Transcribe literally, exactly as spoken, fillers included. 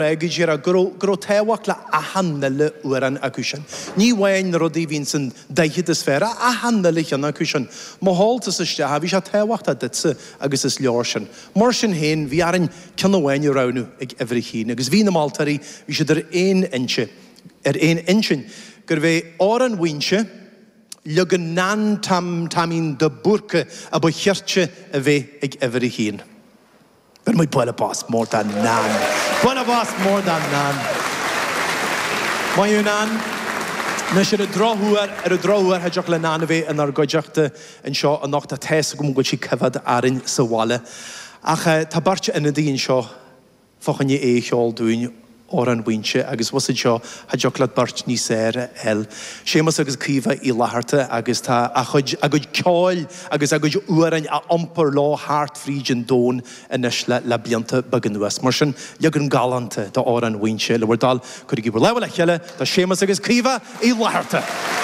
Go díreach, go raibh, go raibh tábhacht le achan uile amhrán acu sin. Ní amháin na rudaí a bhíonn san daichead is fearr, ach achan uile cheann acu sin. Má sheol tusa isteach é, bhí sé tábhachtach duitse agus is leor sin. Mar sin féin, bhí orainn ceann amháin a roghnú ag uimhir a haon agus bhí na moltóirí, bhí siad ar aon intinn, ar aon intinn gurbh é Amhrán Mhaínse, leagan Nan Tom Taimín de Búrca a ba chirte a bheith ag uimhir a haon. Bheir muid bualadh bos mór do Nan. Bualadh bos mór do Nan. Maith thú Nan. Anois ar an drochuair, ar an drochuair cha dtiocfadh le Nan a bheith inár gcuideachta anseo anocht, tá a fhios agam go bhfuil sí ag coimhéad orainn sa bhaile. Ach tá beirt ionadaí anseo fá choinne é a cheol dúinn. Amhrán Mhaínse agus bhfuil a fhios agat seo, cha dtiocfadh leat beirt níos fhearr a fháil. Séamus agus Caoimhe Uí Fhlatharta agus tá a chuid, a gcuid ceoil agus a gcuid amhráin á iompar leo thart fríd an domhan anois le, le blianta beaga anuas. Mar sin, leagan galánta d'Amhrán Mhaínse, le bhur dtoil, cuirigí bhur lámha le chéile do Séamus agus Caoimhe Uí Fhlatharta!